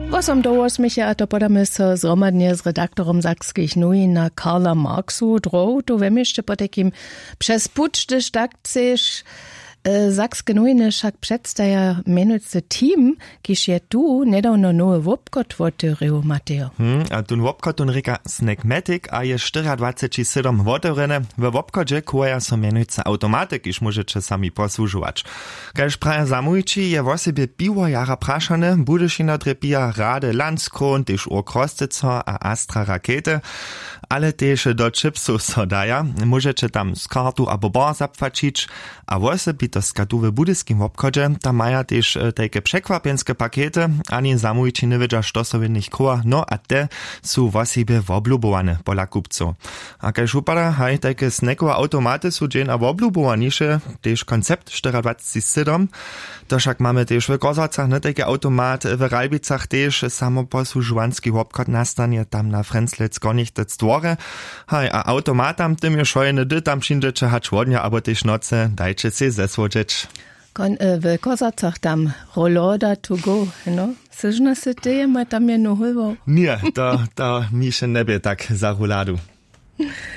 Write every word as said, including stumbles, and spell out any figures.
Wosom do wosmecha a to podamy so zhromadnje z redaktorom sakskich nowin na karla marksu drow tu we měsće potajkim přez puć hdyž tak chceš. Sakske nowiny wšak předstaja mjenujcy team, kiž je tu njedawno nowy wobchod wotewrěł matejo. Hm, a tón wobchod tón rěka snackmatic a je štyriadwaceći sydom wotewrjene. We wobchodźe kuwaja so mjenujcy awtomaty kiž móžeće sami posłužować. Kaž praja zamołwići je wosebje piwo jara prašane budyšina drjepija rady landskron tež urk rosteco a astra rakety. Ale tež do chipsow so daja, móžeće tam z kartu abo bar zapłaćić. A wosebitostka tu w budyskim wobchodźe tam maja tež tajke překwapjenske pakety. Ani zamołwići njewědźa što so w nich chowa no a te su wosebje woblubowane pola kupcow. A kaž wupada haj tajke snackowe awtomaty su dźeń a woblubowaniše tež koncept štyriadwaceći sydom. To wšak mamy tež w kozłacach ne tajki awtomat w ralbicach tež samoposłužowanski wobchod nastanje tam na frenzlec kornichtec dworje. Haj a awtomatam tym je wšojene hdy tam přińdźeće hač wodnja abo tež nocy dajće sej zesłodźeć. W kozłacach tam roloda to go no syžno sy teje maj tam je nohulwał. Ně to to mi wše njebě tak za roladu.